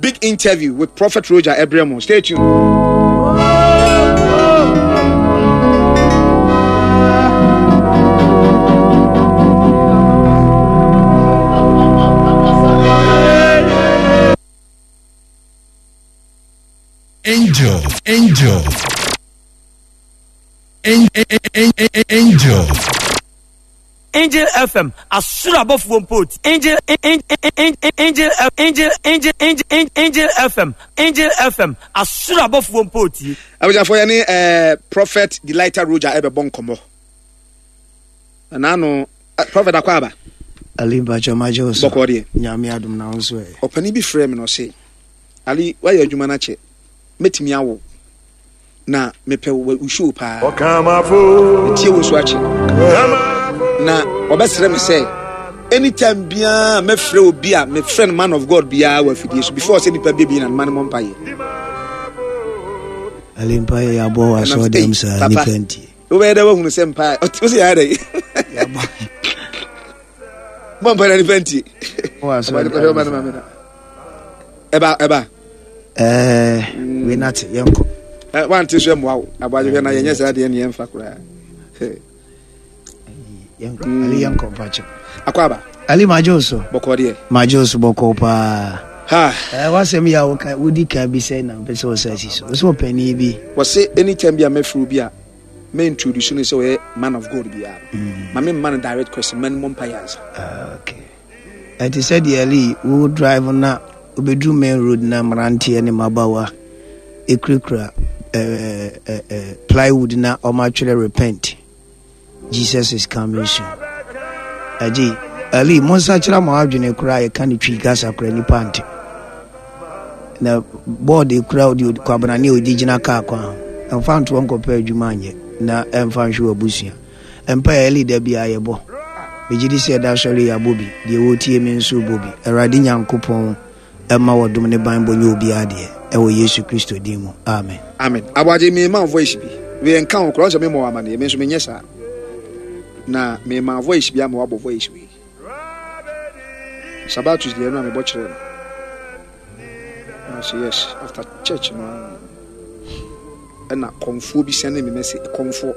big interview with Prophet Roger ɛbrɛ mo. Stay tuned. Angel, angel, angel. Angel FM asoro abɔfoɔ mpo ti Angel Angel Angel Angel Angel Angel FM Angel FM asoro abɔfoɔ mpo ti. Abusuafoɔ yɛne eh, Prophet Delighter Roger ɛbɛbɔ nkɔmmɔ. Ɛnaano eh, Prophet akɔ aba. Ali mpakyɛ magye wo so. Bɔkɔɔ deɛ. Nyame adom na wo nso ɛ. Ɔpanin bi frɛɛ me na ɔse, Ali woayɛ adwuma no akyɛ, mɛtumi awo. Na mepɛ wo show paa. Metie wo nso akyɛ. Na ɔbɛsrɛ me sɛ anytime biara mɛfrɛ obi a mefrɛ no man of God biara wɔ afidie so before sɛ nipa bɛbi na mma no mɔ mpayɛ. Ali mpayɛ yɛabɔ wɔ asɔre dɛm saa nipa ntie. Wobɛyɛ dɛ woahunu sɛ mpae ɔte sɛ yɛayɛ dɛ. Bɔ mpae na nipa ntie. Ɛba ɛba. Ɛɛ wei na te yɛnkɔ. Ɛ wante so ɛmmoa wo aboadwehwɛ na yɛnyɛ saa deɛ ne yɛmfa koraa. Yɛnkɔ Ali yɛnkɔ mpakyɛ. Akɔ aba. Ali magye wo so. Bɔkɔɔ deɛ. Magye wo so bɔkɔɔ paa. Ha. Ɛɛ wasɛm yi a woka wodi kan bi sɛ na mpɛ sɛ wɔsɛ asi so. Wosɛ ɔpanin bi. Wɔse anytime bi a mɛfrɛ obi a mɛ introduce no sɛ ɔyɛ man of God biara no ma me mma no direct question ma no mmɔ mpaeɛ ansa. Ah, okay. Ɛte sɛ deɛ Ali wo drive na wobɛduru main road na mmeranteɛ ne mmabaawa ɛkurakura eh, eh, eh, plywood na ɔmatwerɛ repent Jesus is coming soon. Agye Ali monsakyera mo adwene koraa yɛka ne twi kasa koraa nipa nte. Na bɔɔde kura ɔde kwabrane a ɔde gyina kaa kwan ho. Ɛmfa ntoɔ nkɔpɛ adwuma nyɛ na ɛmfa nhwɛ w'abusua. Mpaeɛ a da biara yɛbɔ. Megye di sɛ ɛda sɔre yɛabɔ bi. Deɛ wɔretie me nso rebɔ bi. Awurade Nyankopɔn mma wɔdom ne banbɔ nyɛ obiara deɛ. Ɛwɔ Yesu Kristo din mu. Amen. Amen. Aboagye me ma voice bi. Wei nka ho koraa sɛ me mɔ amaneɛ me nso menyɛ saa. Na me ma voice bi ama wabɔ voice wei. Sabatus deɛ no a mebɔ kyerɛ no. Na ɔsɛ yes after church no ɛna kɔmfoɔ bi sɛne me message kɔmfoɔ.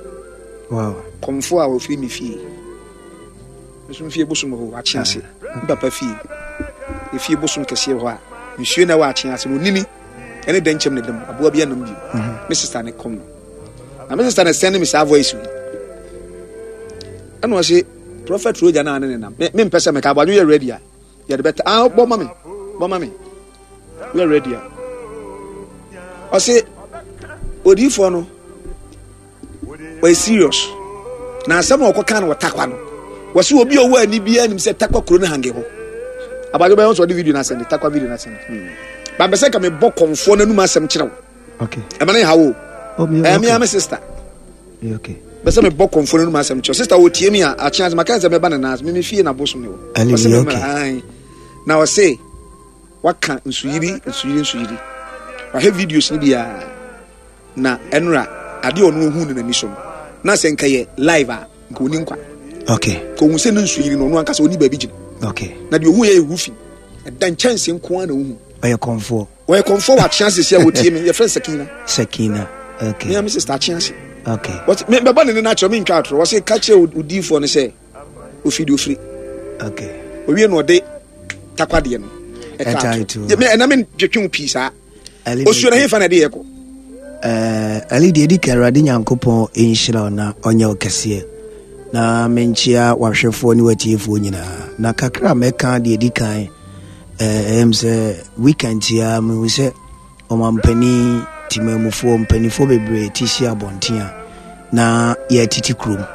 Wow. Kɔmfoɔ a ɔfiri me fie. Nso mfie bosom wɔ hɔ akye ase. Me papa fie. Efie bosom kɛseɛ wɔ hɔ a nsuo na ɛwɔ akye ase no onini ɛne dɛnkyɛm na ɛdam aboa bi anam bio. Mhm. Me sister ne kɔm no. Na me sister na sɛne me saa voice yi. Ɛna ɔse Prophet Roger na ne nenam. Me me mpɛ sɛ meka abɔadwo yɛ ready a. Yɛde bɛta ah bɔ ma me. Bɔ ma me. Yɛ ready a. Ɔse odiifoɔ no ɔyɛ serious. Na asɛm a ɔkɔka no wɔ takwa no. Wɔse obi a ɔwɔ ani biara nim sɛ takwa kuro no hange hɔ. Abadwo bɛyɛ nso ɔde video no asɛnde takwa video no asɛnde. Hmm. Ba mpɛ sɛ nka mebɔ kɔmfoɔ no anum asɛm kyerɛ wo. Okay. Ɛma ne ha wo. Oh, me, okay. Me sister. Okay. Bɛsɛ mebɔ kɔmfoɔ no anum asɛm kyerɛ. Sister wɔtie mi a akye ase maka sɛ mɛba ne nan ase. Me me fie na bosom ne wɔ. Ɔse me mmra. Na ɔse waka nsuyiri nsuyiri nsuyiri. Wahwɛ videos no biara. Na ɛnora adeɛ ɔno ohun no n'ani so no. Na sɛ nka yɛ live a nka ɔni nkwa. Okay. Ka ohun sɛ ne nsuyiri no ɔno ankasa ɔni baabi gyina. Okay. Na deɛ ohun yɛ yɛ roofing. Ɛda nkyɛnse nko ara na ohun. Ɔyɛ kɔmfoɔ. Wɔyɛ kɔmfoɔ wɔ akyea sisi a wɔtie me yɛfrɛ no Sakina. Sakina okay. Me a me sister akyea ase. Okay. Wɔsi me bɛbɔ ne ne n'akyerɛ me ntwa atorɔ wɔsi ka kyerɛ odiifoɔ no sɛ ofiri deɛ ofiri. Okay. Owie na ɔde takwa deɛ no ɛta ato. Me ɛna me twetwe wo pii saa. Osuo na hefa na ɛde yɛ kɔ. Ɛɛ Ali deɛ edi kan Awurade Nyankopɔn nhyira wo na ɔnyɛ wo kɛseɛ na menkyea w'ahwɛfoɔ ne w'atiefoɔ nyinaa na kakra a mɛka deɛ edi kan Ɛyɛ me sɛ weekend yi ara mehu sɛ ɔmampanin, temanmufoɔ, mpanimfoɔ bebree te si abɔnten a na yɛretete kurom.